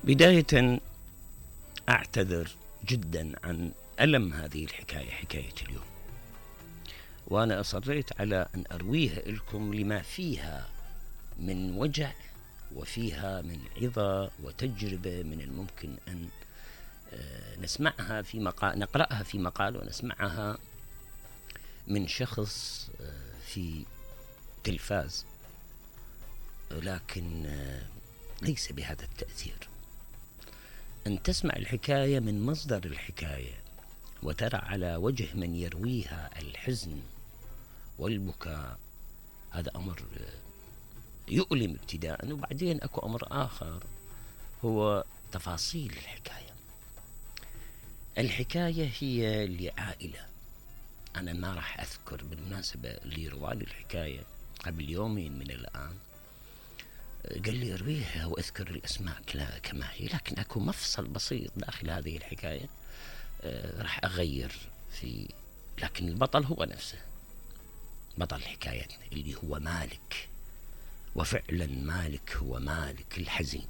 بداية أعتذر جدا عن ألم هذه الحكاية، حكاية اليوم، وأنا أصريت على أن أرويها لكم لما فيها من وجع وفيها من عظة وتجربة من الممكن أن نسمعها في مقال، نقرأها في مقال ونسمعها من شخص في تلفاز، لكن ليس بهذا التأثير. أن تسمع الحكاية من مصدر الحكاية وترى على وجه من يرويها الحزن والبكاء، هذا أمر يؤلم ابتداء، وبعدين أكو أمر آخر هو تفاصيل الحكاية. الحكاية هي لعائلة، أنا ما راح أذكر بالمناسبة اللي روالي الحكاية قبل يومين من الآن قال لي ارويها واذكر الاسماء كما هي، لكن اكو مفصل بسيط داخل هذه الحكاية راح اغير فيه، لكن البطل هو نفسه، بطل حكايتنا اللي هو مالك، وفعلا مالك هو مالك الحزين.